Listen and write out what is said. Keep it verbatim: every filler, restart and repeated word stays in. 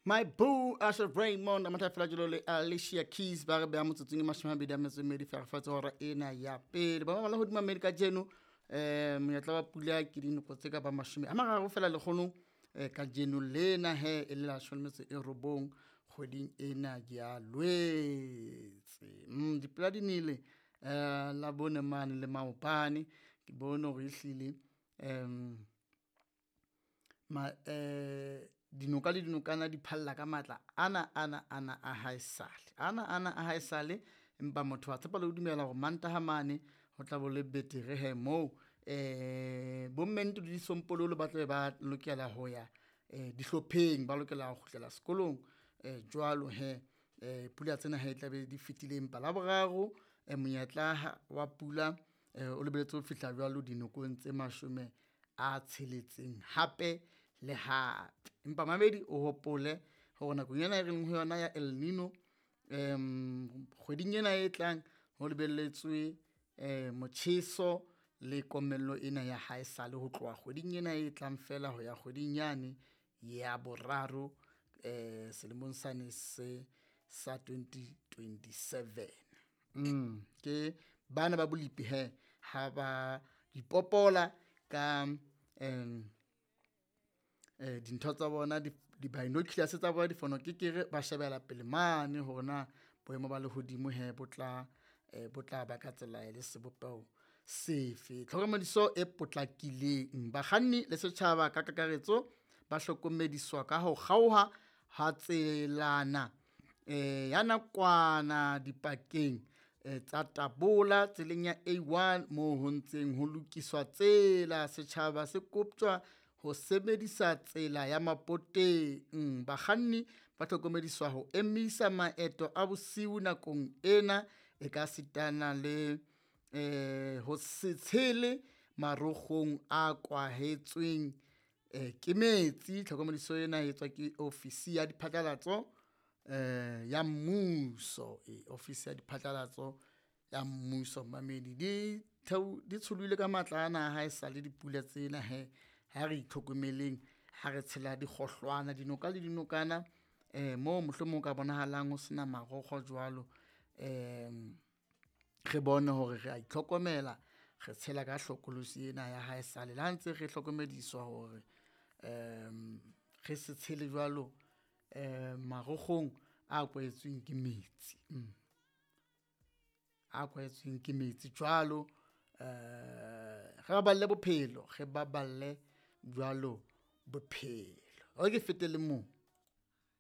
My boo Asha Raymond a matha fela jalo le Alicia Keys ba re beha motsotsong e mashome a mabedi a metso e mmedi fela fatshe hora ena ya pele. Ba bang ba hodima mmedi kajeno eh monyetla wa pula ke dinoko tse ka ba mashome a mararo fela lekgonong eh kajeno lena he e le la leshome le metso e robong kgweding ena ya Lwetse. Mm dipula di nele eh la bone mane le maobane ke bone hore ehlile em ma eh dinoka le dinokana di phalla ka matla ana ana ana a haesale ana ana a haesale empa motho wa tshepa le ho dumela hore Mantaha mane ho tla bo le betere he moo eh bo mme le disompololo ba tlabe ba lokela ho ya eh dihlopheng, ba lokela ho kgutlela sekolong eh jwalo he eh pula tsena he tlabe di fetile. Empa Laboraro eh monyetla wa pula eh o lebelletse ho fihla jwalo dinokong tse mashome a tsheletseng hape le hape. Empa mamedi o hopole hore nakong ena e reng ho yona ya El Nino um kgweding ena e tlang ho lebelletswe eh motjheso le komello ena ya haesale ho tloha kgweding ena e tlang fela ho ya kgweding yane ya boraro eh selemong sane se sa twenty twenty-seven. Mm ke bana ba bolipi he ha ba ipopola ka um eh dintho tsa bona di-binoculars tsa bona difonokekere ba shebela pele mane hore na boemo ba lehodimo he bo tla eh bo tla ba ka tsela le sebopeho sefe. Tlhokomediso e potlakileng, bakganni le setjhaba ka kakaretso ba hlokomediswa ka ho kgaoha ha tselana eh ya nakwana dipakeng eh tsa Tabola tseleng ya A one moo ho ntseng ho lokiswa tsela. Setjhaba se koptjwa ho sebedisa tsela ya Mapoteng. Bakganni ba hlokomediswa ho emisa maeto a bosiu nakong ena e ka sitana le eh ho se tshele marokgong a kwahetsweng eh ke metsi. Tlhokomediso ena e etswa ke ofisi ya diphatlalatso eh ya mmuso, e ofisi ya diphatlalatso ya mmuso. Mamedi di theo di tsholohile ka matla ana a haesale dipula tsena he ha re itlhokomeleng ha re tshela dikgohlwana dinoka le dinokana eh moo mohlomong o ka bonahalang ho sena marokgo jwalo. Um re bone hore re a itlhokomela, re tshela ka hlokolosi ena ya haesale le ha ntse re hlokomediswa hore um re se tshele jwalo um marokgong a kwahetsweng ke metsi, mm a kwahetsweng ke metsi jwalo. Um re baballe bophelo, re baballe jwalo bophelo. Hore ke fete le moo.